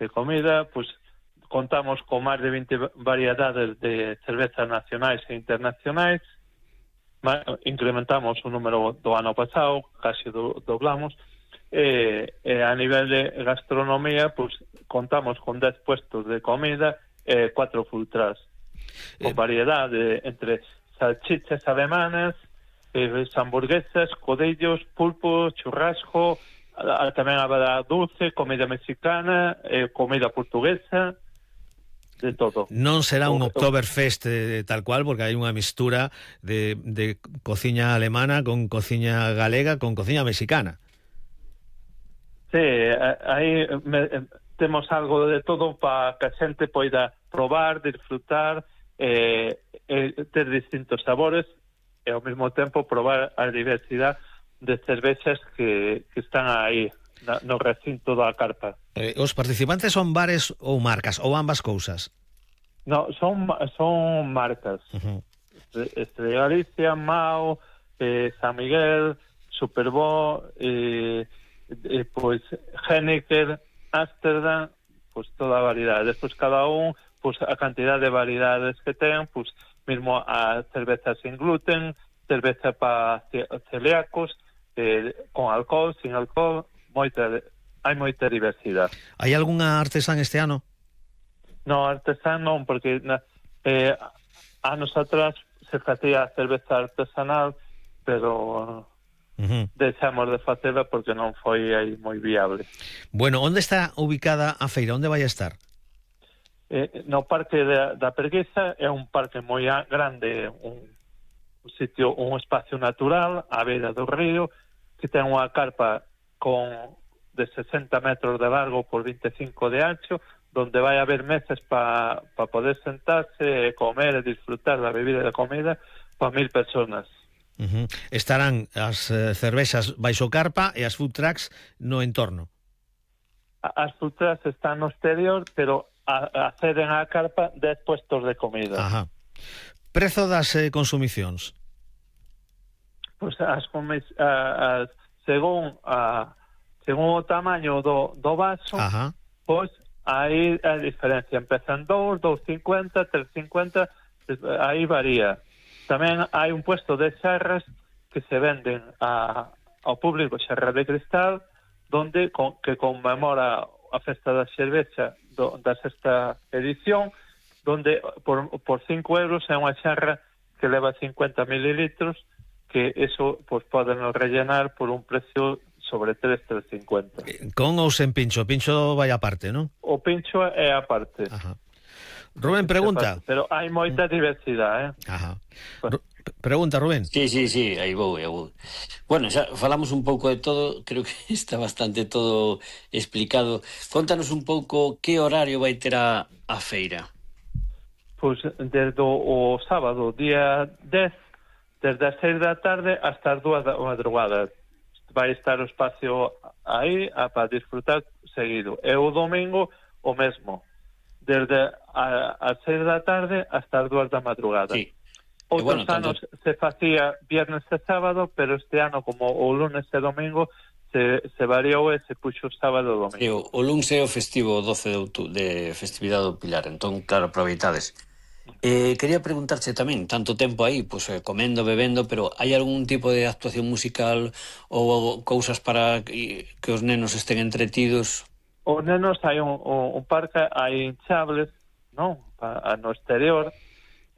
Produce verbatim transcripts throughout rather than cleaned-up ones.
de comida, pues contamos con máis de vinte variedades de cervezas nacionais e internacionais, incrementamos o número do ano pasado, casi do, doblamos, e, e a nivel de gastronomía, pues contamos con dez puestos de comida e cuatro food trucks, con variedade entre salchichas alemanas, eh, hamburguesas, codillos, pulpo, churrasco, a, a, tamén habrá dulce, comida mexicana, eh, comida portuguesa, de todo. Non será un Oktoberfest eh, tal cual, porque hai unha mistura de, de cociña alemana con cociña galega con cociña mexicana. Sí, aí me, temos algo de todo para que a xente poida probar, disfrutar, eh, eh, ter distintos sabores e ao mesmo tempo probar a diversidade de cervezas que, que están aí no recinto da carpa. Eh, os participantes son bares ou marcas, ou ambas cousas? No, son son marcas. Uh-huh. Este de Galicia, Mao, eh, San Miguel, Superbo, eh, eh, pues Heineken, Amsterdam, pues toda a variedade. Despois cada un, pues a cantidad de variedades que ten, pues mismo a cerveza sin gluten, cerveza para celíacos, eh, con alcohol, sin alcohol, moita, hai moita diversidade. Hai algunha artesán este ano? No, artesán non, porque eh, anos atrás se facía cerveza artesanal, pero uh-huh. deixamos de facela porque non foi aí moi viable. Bueno, onde está ubicada a feira? Onde vai a estar? Eh, no Parque da, da Preguesa, é un parque moi grande, un, un sitio, un espacio natural á beira do río, que ten unha carpa con de sesenta metros de largo por veinticinco de ancho, donde vai haber mesas para pa poder sentarse, comer e disfrutar da bebida e da comida para mil personas. Uh-huh. Estarán as eh, cervexas baixo carpa e as food trucks no entorno. As food trucks están no exterior, pero a, acceden á carpa dez puestos de comida. Ajá. Prezo das eh, consumicións? Pois pues as, as según a según o tamaño do, do vaso, Ajá. pois aí a diferencia, empezan dous, dous cincuenta, tres cincuenta, aí varía. Tamén hai un puesto de xarras que se venden a, ao público, xarra de cristal, donde con, que conmemora a festa da cervexa do, da sexta edición, donde por, por cinco euros é unha xarra que leva cincuenta mililitros, que eso pues poden rellenar por un precio sobre tres, tres cincuenta. Con ou sen pincho? Pincho vai aparte, non? O pincho é aparte. Ajá. Rubén pregunta. Pero hai moita diversidade, eh? Ajá. Pues... Pregunta, Rubén. Sí, sí, sí, aí vou, aí vou. Bueno, xa falamos un pouco de todo, creo que está bastante todo explicado. Contanos un pouco que horario vai ter a, a feira. Pois pues, desde o sábado, día dez, desde as seis da tarde hasta as dúas da madrugada. Vai estar o espacio aí para disfrutar seguido. E o domingo o mesmo, desde a, as seis da tarde hasta as dúas da madrugada. Sí. Outros bueno, anos tanto... se facía viernes e sábado, pero este ano, como o lunes e domingo, se, se variou e se puxo sábado e domingo. Sí, o, o lunes é o festivo doce de outubro, de festividade do Pilar, entón, claro, aproveitades. Eh, quería preguntarche tamén, tanto tempo aí, pues, eh, comendo, bebendo, pero hai algún tipo de actuación musical ou cousas para que, que os nenos estén entretidos? Os nenos hai un, un, un parque, hai hinchables, non? Pa, no exterior,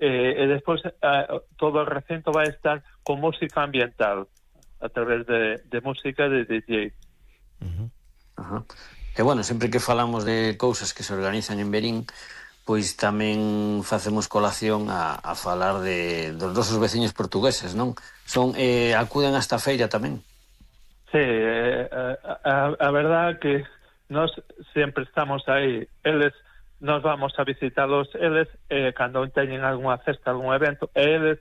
eh, e despois eh, todo o recinto vai estar con música ambiental a través de, de música de D J. Uh-huh. Ajá. E bueno, sempre que falamos de cousas que se organizan en Verín, pois tamén facemos colación a, a falar de dos nosos veciños portugueses, non? Son eh, acuden a esta feira tamén. Sí, eh, a, a verdad que nós sempre estamos aí, eles nos vamos a visitarlos eles, eh, cando teñen algunha festa, algún evento, e eles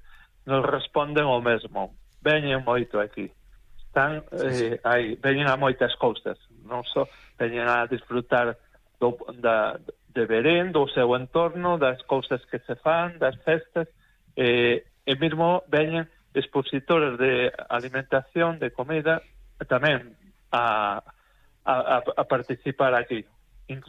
nos responden o mesmo. Veñen moito aquí. Están eh, aí, veñen a moitas cousas. Non só veñen a disfrutar do, da, de Verín, do seu entorno, das cousas que se fan, das festas, eh, e mesmo veñen expositores de alimentación, de comida, tamén a, a, a participar aquí.